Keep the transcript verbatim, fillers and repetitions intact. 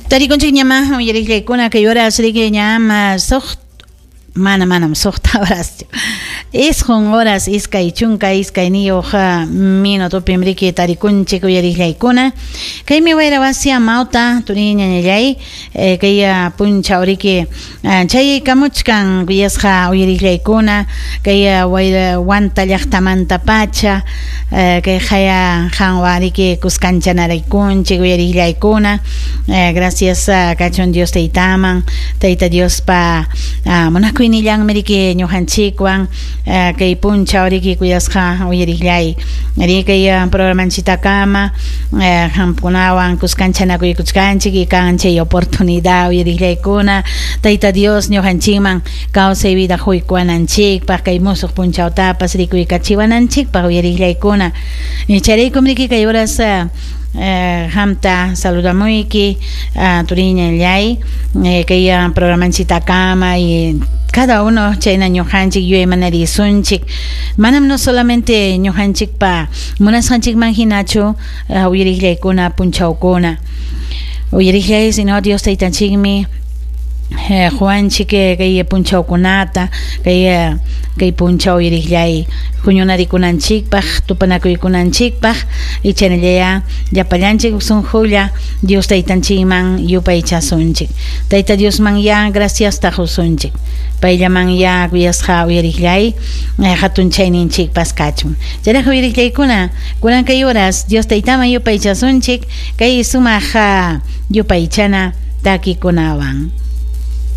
Tarikunchik ñama uyariqllaykuna kay horas riki ñama suq mana manam suqta horaschu isqun horas iskay chunka iskayniyuq minutopim riki tarikunchik uyariqllaykuna kaymi wayra wasi amawta turi ñañallay kay punchaw riki chay kamuchkan kuyasqa uyariqllaykuna kay wayra Huanta llaqtamanta pacha kay qaya qanwan riki kuskanchanaraykunchik uyariqllaykuna. Gracias kachun Dios taytaman, Tayta Diospa munakuynillanmi riki ñuqanchikwan kay punchaw riki kuyasqa uyariqllay ri kay programanchitakama qamkunawan kuskanchanakuykuchkanchik y kan chay oportunidad uyariqllaykuna Tayta Dios ñuqanchikman kawsay vida quykuwananchikpaq kay musuq punchawtapas rikuykachiwananchikpaq uyariqllaykuna. Chayraykum riki kay horas hamta saludamuyki turiñallay kay programanchitakama y cada uno chayna ñuqanchik yuyaymanarisunchik manam no solamente ñuqanchikpa munasqanchikman hinachu uyariqllaykuna punchawkuna uyariqllay sino Dios taytanchikmi Juanchik kay punchawkunata kay kay punchaw uyariqllay huñunarikunanchikpaq tupanakuykunanchikpaq ichanallaya llapallanchik sunqulla Dios taytanchikman yupaychasunchik Tayta Diosman ya graciasta qusunchik payllaman ya kuyasqa uyariqllay hatunchayninchikpas kachun chayraq uyariqllaykuna kunan kay horas Dios taytaman yupaychasunchik kay sumaq yupaychana takikunawan.